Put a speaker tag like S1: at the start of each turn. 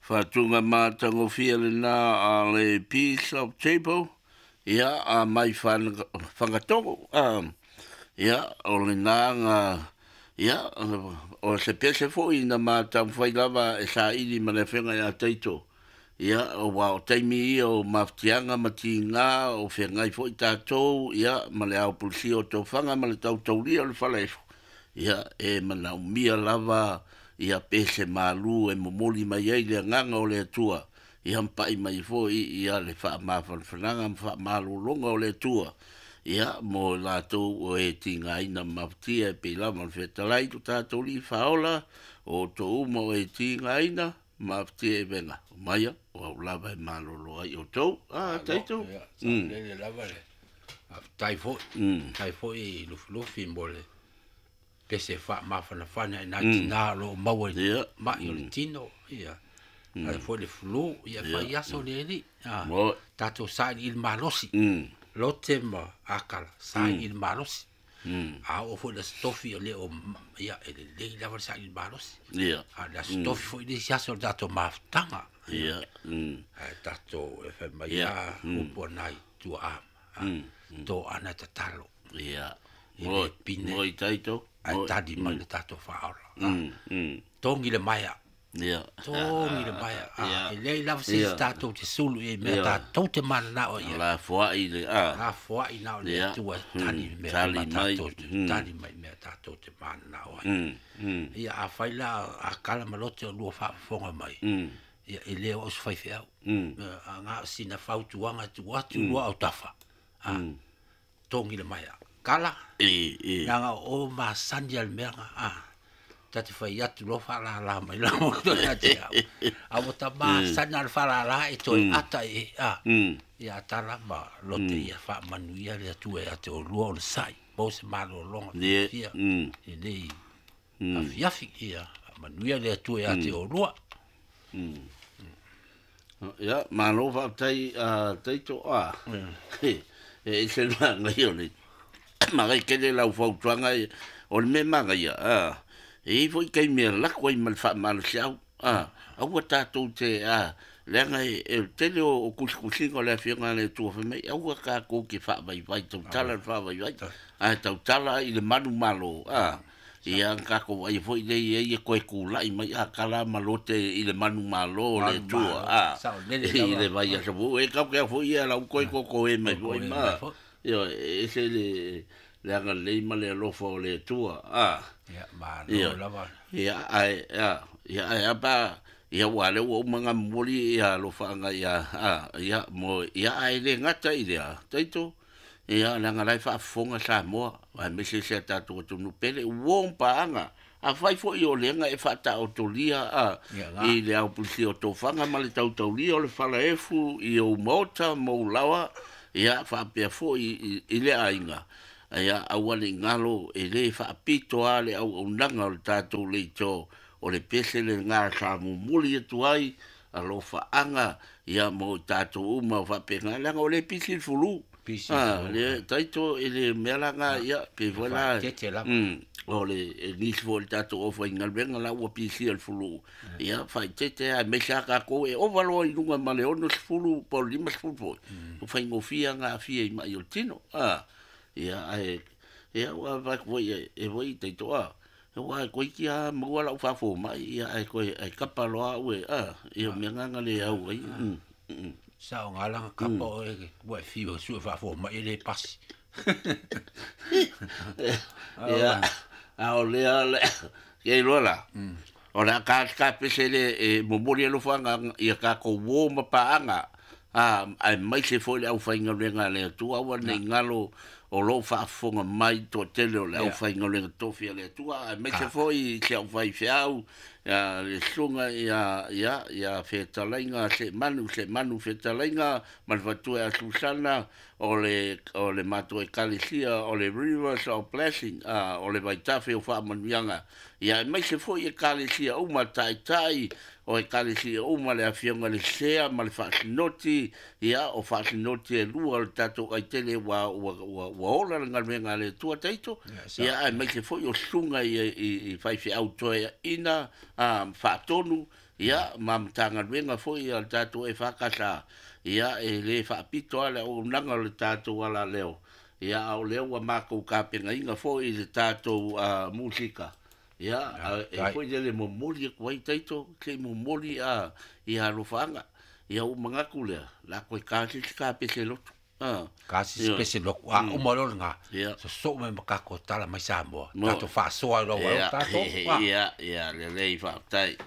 S1: Faatuga matagofie lena a le Peace of Table, ia, a mai Fagatogo, a, ia, o lena ga, ia, o se pese foi na mataumafai lava e saili ma le afioga ia Taito. Ia, aua o taimi ia o mafatiaga ma tiga o feagai foi tatou, ia, ma le ao pulisia o tofaga ma le tautaulia o le falaefo, ia, e manaomia lava ia pese malu e momoli mai ai le agaga o le Atua, ia mapai mai foi ia le faamafanafanaga ma faamalologa o le Atua, ia, mo i latou o e tigaina ma mafatia e pei lava ona fetalai lo tatou Alii Faaola, o outou uma o e tigaina, mafatia e vega, omaia, o au lava e malolo ai outou. Ah, Taito.
S2: Ia, saolele lava le faafetai foi. Faafetai foi i Lufilufi mo le pese faamafanafana i nai tinā o lo o maua i mai o le tino, ia. Ae foi le flu, ia fai aso le alii. Tatou sailiili malosi, lote ma akala, sailiili malosi. A oo foi i le Aso Tofi o le o, ia, e lelei lava le sailiili malosi. A o le Aso Tofi foi le isi aso o le tatou mafutaga. Ae tatou e fai mai lava upu a nai tuaa, toana e tatalo. E le pine.
S1: Moi Taito.
S2: Ae tali mai le tatou Faaola. Togi le maea. Togi le maea. E leai lava se isi tatou te sulu i ai mea tatou te mananao i ai.
S1: Lafoai le a.
S2: Lafoai na o le Atua e tali i mea tatou te tali mai mea tatou te mananao ai. Ia afai la a kala ma lote o lua faafofoga mai, ia e le o au se faifeau. A na o sina fautuaga e tuu atu i lua autafa. Togi le maea. Kala, leaga o oe masani lava i le mea lena. Ta te fai atu loa faalala mai lalo ia te au. A ua ta masani na o le faalala e toe ata i ai. Ia tala ma lote ia faamanuia le Atua ia te oulua onosai. Maua se malologa fiafia i lenei afiafi. Ia faamanuia le Atua ia te oulua.
S1: Ia, malo faafetai a Taito a. E ese le manaia o le manaia tele lau fautuaga o le mea manaia a e i ai foi taimi e lako ai ma le faamalosiau a aua tatou te a leaga e o le tele o tusitusiga o le Afioga a le Atua fai mai aua tatou te faavaivai tautala i le faavaivai ae tautala i le manumalo a. Ia na tatou vaaia foi lea i ai e toe tulai mai Akala ma Lote i le manumalo o le Atua, a, i le vaiaso foi. E tatou te au foi ia la ua toe totoē mai foi ma, ioe, e ese le, le agalelei ma le alofa o le Atua, a. Ioe, ia, ae, a, ia, ae a pe a, ia aua o lea ua uma ona momoli ia alofaaga ia, a, ia, mo, ia, ae le gata i lea, Taito, Ia, leaga o la e faafofoga Samoa, aemaise si a tatou atunuu pele, uo ma paaga. Afai foi o lea na e faataotolia a, i le aupulisia o tofaga ma le tautaulia o le falaefu i ou maota ma ou laoa, ia, faapea foi i le aiga, ia, aua ne i galo, e le faapito lava le auaunaga o le tatou leitio, o le pese lena sa momoli atu ai alofaaga ia mo i tatou uma faapena, leaga o lea e pisi le fulu.
S2: Pisi le fulu.
S1: Le taito i le mea la na, ia, pei foi la,
S2: Faaeteete lava.
S1: O le nisi foi o le tatou aufaigaluega la ua pisia le fulu. Ia, faaeteete lava, aemaise lava tatou e ova loa i luga ma le 60 po o le 50 foi, ua faigofie lava ona aafia i mai o le tino. Ia, ae, ia, ua vaai atu foi e foi taito, a, Aua e toeitiiti lava maua lau faafomai, ia ae toe ae kapa loa au e, a, ia o mea na na le au ai.
S2: Sa o gala na kapa oe ua e fiu e sue faafomai e le pasi.
S1: Ia, a o lea le, ia iloa la, o le a ka ka pese le e momoli alofaga ia tatou uo ma paaga, a, aemaise foi le aufaigaluega a le Atua, aua ne i galo o lo o faafofoga mai le toatele o le aufaigaluega tofi a le Atua, aemaise foi i si au faifeau, ia le susuga ia, ia, ia Fetalaiga Seemanu, Seemanu Fetalaiga ma le faletua ia Susana, o le, o le matou Ekalesia o le Rivers of Blessing, a, o le Vaitafe o Faamanuiaga, ia aemaise foi Ekalesia uma, Taitai o Ekalesia uma, le Afioga i le Sea ma le Faasinoti, ia, o Faasinoti e lua o le tatou aitele ua, ua, ua, ua ola le galuega a le Atua taito, ia, aemaise foi o susuga i, i, i faifeau toeaiina, a, faatonu, Ia, ma Matagaluega foi a le tatou EFKS, ia, e le faapito lava le auaunaga o le tatou alaleo, ia, a o lea ua matou tapenaina foi i le tatou musika, ia, e foi lele momoli atu ai taito, se i momoli ia alofaaga. Ia, ou manatu lea, o le a toe ta se isi kapese lotu.
S2: Ka se isi pese lotu, a uma loa lena, sosoo mai ma tatou tala mai Samoa, tatou faasoa ai loa ua tatou.
S1: Ia, ia, lelei, faafetai.